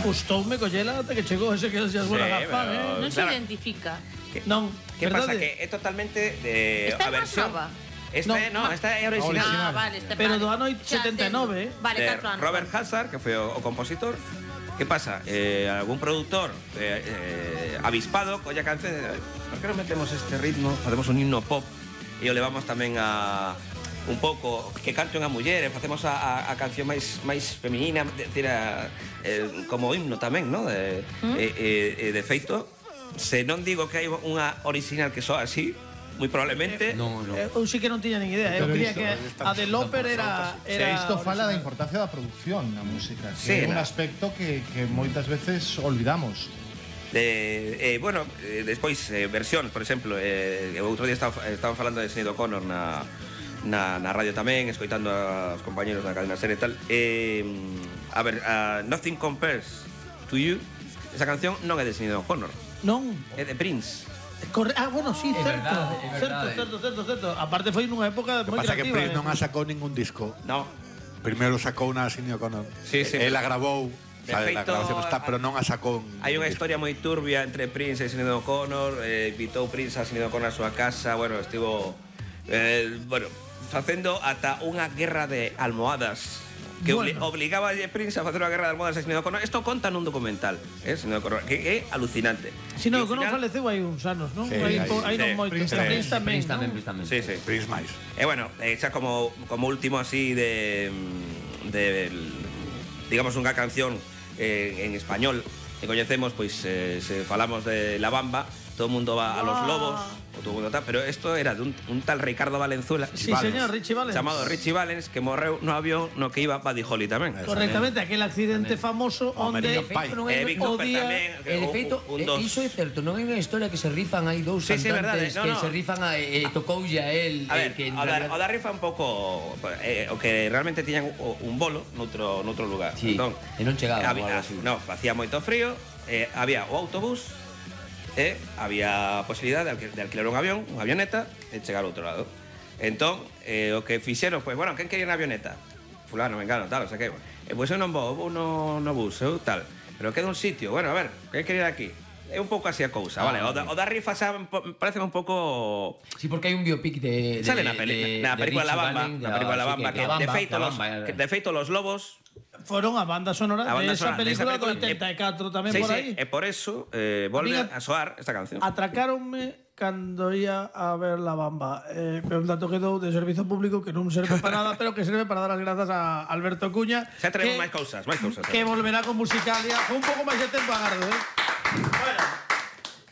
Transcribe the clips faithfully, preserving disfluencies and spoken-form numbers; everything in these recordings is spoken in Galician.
Custoume collela até que chegou ese que xa fuera gafán, eh? Non se identifica. Non, que pasa que é totalmente de Esta a é máis versión. nova. Esta é, no, esta é original. Ah, vale, este Pero vale. do ano Xa setenta e nove, entendo. Vale, de catro anos. Robert Hazard, que foi o, o compositor. Que pasa? Eh, algún productor eh, eh, avispado colla canción de, por que non metemos este ritmo, facemos un himno pop e o levamos tamén a un pouco que cante unha muller e facemos a, a, a canción máis máis feminina, decir, a, eh, como himno tamén, ¿no? De, ¿Mm? eh, eh, de feito, se non digo que hai unha original que soa así, moi probablemente no, no. Eu sí que non tiña nin idea, eu creía que a de Loper era, era isto fala da importancia da producción na música, que Sí, é un na- aspecto que, que moitas veces olvidamos. de, eh, bueno, eh, despois eh, versión, por exemplo, eh, o outro día estaba, estaban falando de Sinead O'Connor na, na, na radio tamén, escoitando aos compañeros da cadena serie e tal. Eh, a ver, a Nothing Compares to You, esa canción non é de Sinead O'Connor, Non, é de Prince. corre... Ah, bueno, sí, É certo, verdade, é certo, verdade. certo, certo, certo. Aparte foi nunha época Que moi pasa que creativa. Prince non eh. a sacou ningún disco. No, Primeiro sacou na Sinead O'Connor. Sí, sí. Ela grabou, De sabe, a feito, grabación está, pero non a sacou. hai unha historia moi turbia entre Prince e Sinead O'Connor. eh, Invitou Prince a Sinead O'Connor a súa casa. Bueno, estivo eh, bueno, facendo ata unha guerra de almohadas que Bueno. obli obligaba a Prince a facer unha guerra de almohadas a Sinead O'Connor. Isto conta nun documental, eh, Sinead O'Connor, que é alucinante. Si non, E ao que non final- faleceu hai uns anos, non? Sí, hai, hai- po- hai non sí, moito. Prince Pero tamén. Prince tamén, Prince tamén, non? Prince tamén. Sí, sí. Prince máis. E bueno, eh, xa como, como último así de, de digamos unha canción eh, en español que coñecemos, pois eh, se falamos de La Bamba, todo o mundo va a los lobos, o todo o mundo tal, pero isto era de un, un tal Ricardo Valenzuela, Sí, señor, Richie Valens. chamado Richie Valens, que morreu no avión no que iba Buddy Holly tamén. Correctamente, aquel accidente famoso onde American Pie. non Eh, é Big Bopper día- tamén, E de un- feito, un eh, dos. iso é certo, non é unha historia que se rifan hai dous Sí, sí, cantantes verdade, no, que no. se rifan a eh, tocoulle a él A eh, ver, que en o da, realidad- o da rifa un pouco eh, o que realmente tiñan o- un bolo noutro, noutro lugar. Sí, e non chegaba, había, ou algo así. no, facía moito frío, eh, había o autobús e había a posibilidade de, alquil de alquilar un avión, unha avioneta e chegar ao outro lado. Entón, eh, o que fixeron foi, bueno, quen quere ir na avioneta? Fulano, vengano, tal, o sea que, e pois eu non vou, vou no, no bus, eu tal. Pero queda un sitio, bueno, a ver, quen quere ir aquí? É un pouco así a cousa, Ah, vale? O da, o da rifa xa parece un pouco... Sí, porque hai un biopic de, de Sale na, peli, de, na de película La Richie Bamba, Valens, na película La así Bamba, que, La de Bamba, feito La los, Bamba, que de feito los lobos foron a banda sonora a banda de esa sonora de esa película do película, oitenta e catro tamén sí, por sí, aí. e por eso eh, volve Mira, a soar esta canción. Atracáronme cando ia a ver La Bamba. Eh, é un dato que dou de servizo público que non serve para nada, pero que serve para dar as grazas a Alberto Cuña. Xa traemos que- máis cousas, máis cousas. Que volverá con Musicalia. Un pouco máis de tempo agardo, eh? Bueno,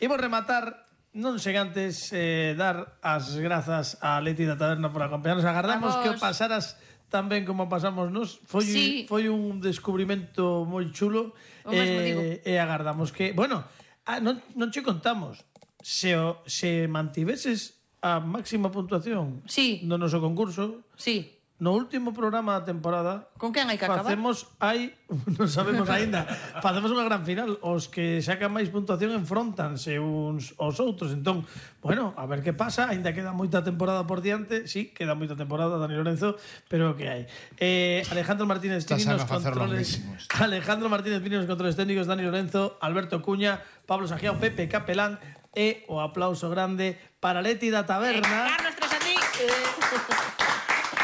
imos rematar non sen antes eh, dar as grazas a Leti da Taberna por acompañarnos. Agardamos A que o vos. pasaras tan ben como pasamos nos. Foi, Sí. foi un descubrimento moi chulo. O mesmo digo. E agardamos que... Bueno, ah, non, non che contamos. Se, o, se mantiveses a máxima puntuación Sí. no noso concurso, Sí. no último programa da temporada Con quen hai que acabar? facemos hai non sabemos aínda facemos unha gran final, os que sacan máis puntuación enfrontanse uns aos outros. Entón, bueno, a ver que pasa, aínda queda moita temporada por diante. Sí, queda moita temporada, Dani Lorenzo, pero que hai eh, Alejandro Martínez Estás Pini nos a facer controles longuísimos. Alejandro Martínez Pini nos controles técnicos, Dani Lorenzo, Alberto Cuña, Pablo Sagiao, Pepe Capelán e o aplauso grande para Leti da Taberna. Carlos tras a ti.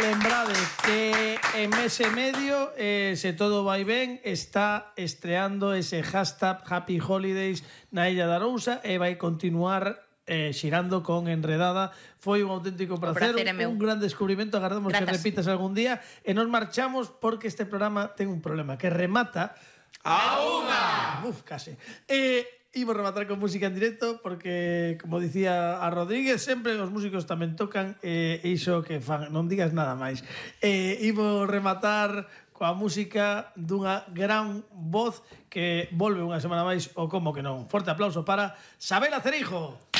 Lembrade que en mes e medio, eh, se todo vai ben, está estreando ese hashtag Happy Holidays na Illa da Arousa e vai continuar eh, xirando con Enredada. Foi un auténtico placer, pracer é meu. un gran descubrimento. Agardamos que Grazas. repitas algún día e nos marchamos porque este programa ten un problema, que remata A unha! Uf, casi. Eh, Imos rematar con música en directo porque, como dicía a Rodríguez, sempre os músicos tamén tocan e eh, iso que fan, non digas nada máis. Eh, imos rematar coa música dunha gran voz que volve unha semana máis o como que non. Forte aplauso para Sabela Cerijo.